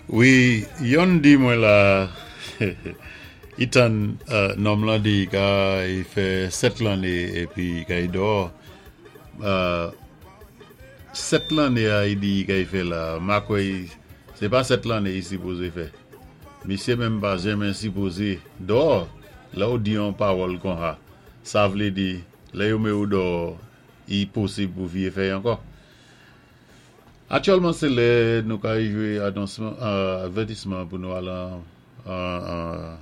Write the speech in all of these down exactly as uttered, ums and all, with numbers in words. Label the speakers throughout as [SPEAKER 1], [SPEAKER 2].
[SPEAKER 1] Wi, youn di mwen la, Ethan, euh, nonm lan di ka i fè sèt lanné épi ka i dò. Euh, sèt lanné a i di ka i fè la, ma kwè sé pa sèt lanné i sipozé fè. Misyé menm pa janmen sipozé dò, lè ou di yon pawòl konsa. Sa vlé di, lè yo mé ou dò, i posib pou vié fè ankò. Aktyèlman, sé lè nou ka jwé anonsman, euh, avètisman pou nou al an, an, an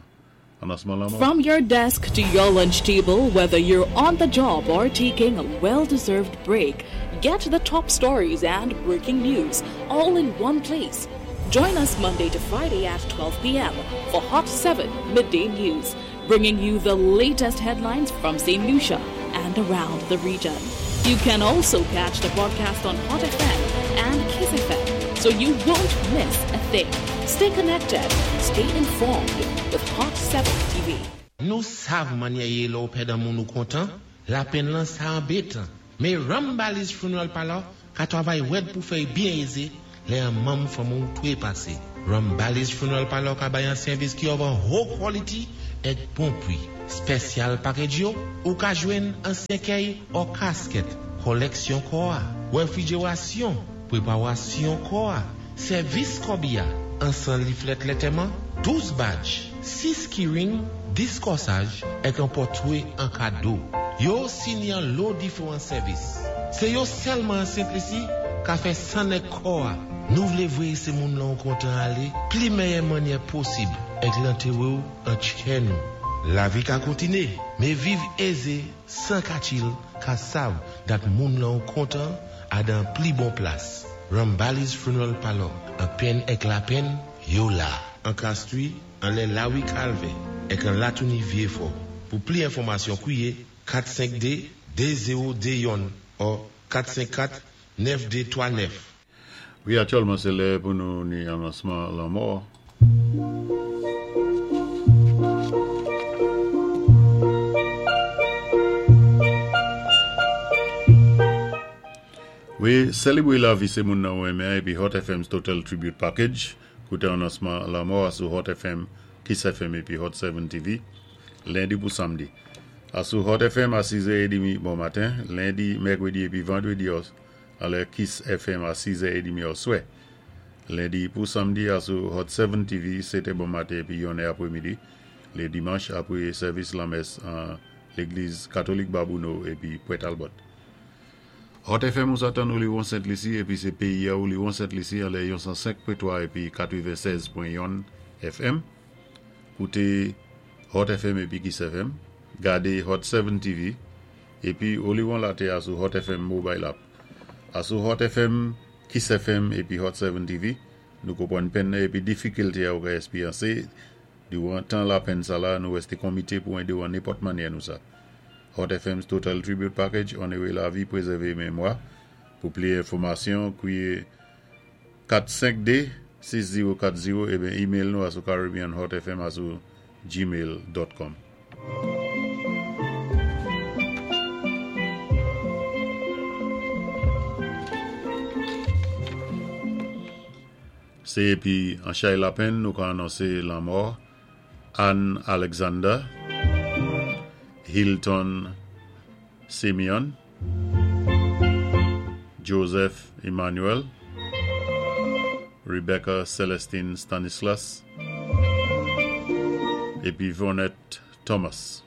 [SPEAKER 1] anonsman lanmò.
[SPEAKER 2] From your desk to your lunch table, whether you're on the job or taking a well deserved break, get the top stories and breaking news all in one place. Join us Monday to Friday at twelve p m for Hot seven Midday News, bringing you the latest headlines from Saint Lucia and around the region. You can also catch the broadcast on Hot F M and Kiss F M, so you won't miss a thing. Stay connected, stay informed with Hot seven T V.
[SPEAKER 3] Nou sav mannyè yé lè ou pèd an moun ou kontan, lapenn lan sa anbétan. Mé Rambali's Funeral Parlor ka twavay wèd pou fè byen ézé lè an manm fanmi ou twé pasé. Rambali's Funeral Parlor ka bay an sèvis ki of an haut quality èk bon pri. Special package yo, ou ka jwenn an sèkèy ou casket, koleksyon kò a, refrijerasyon, préparation kò a, sèvis kòbiya, an san leaflet lantèman, douz badge, sis keyring, dis kòsaj, èk an pòtwé an kado. Yo sini an lo diferan sèvis. Sé yo sèlman an Sent Lisi ka fè san èk kò a. Nou vlé vwé sé moun lan kontan alé, pli mèyè mannyè posib, èk lantéré ou an tchè nou. Lavi ka kontiné, mé viv ézé, san katchil, ka sav dat moun lan kontan a dan pli bon plas. Rambali's Funeral Parlor, an penn èk lapenn, yo la. An Castries, an lè Lawi Calvé, èk an Latouni Vieux-Fort. Pou pli enfòmasyon, kwiyé kat senk de de zewo de youn ou kat senk kat nèf de twa nèf.
[SPEAKER 1] Wi, aktyèlman, sé lè pou nou ni anonsman lanmò. Wi, sélébwé lavi sé moun nan ou renmen épi Hot F M's Total Tribute Package. Kouté anonsman lanmò sou Hot F M, Kiss F M épi Hot sept T V, lendi pou samdi. A sou Hot F M a sis è trant bon maten, lendi, mèkwédi épi vandwédi a lè Kiss F M a sis è trant oswè. Lendi pou samdi a sou Hot sept T V, sèt è bon maten épi yon è apré midi. Lé dimanch apwé sèvis lanmès an légliz katolik Babouno épi Pointe Talbot. Hot F M ou sa tann Oléron Sent Lisi épi sé péyi a Oléron Sent Lisi an lè san senk pwen twa épi katreven sèz pwen youn F M. Kouté Hot F M épi Kiss F M. Gadé Hot sept T V épi Oléron Latè a sou Hot F M Mobile App. A sou Hot F M, Kiss F M épi Hot sept T V, nou konpwann penn épi difikilté a ou ka èspéryansé. Diwan tan lapenn sa la, nou wèsté komité pou édé ou an nenpòt mannyè nou sa. Hot F M's Total Tribute Package, onoré lavi, prézèvé mémwa. Pou pli enfòmasyon, kwiyé kat senk de sis zewo kat zewo ébyen email nou a sou caribbeanhotfm a sou gmail pwen com. Sé épi an chay lapenn nou ka anonsé lanmò Anne Alexander, Hilton Simeon, Joseph Emmanuel, Rebecca Celestine Stanislas, épi Vonette Thomas.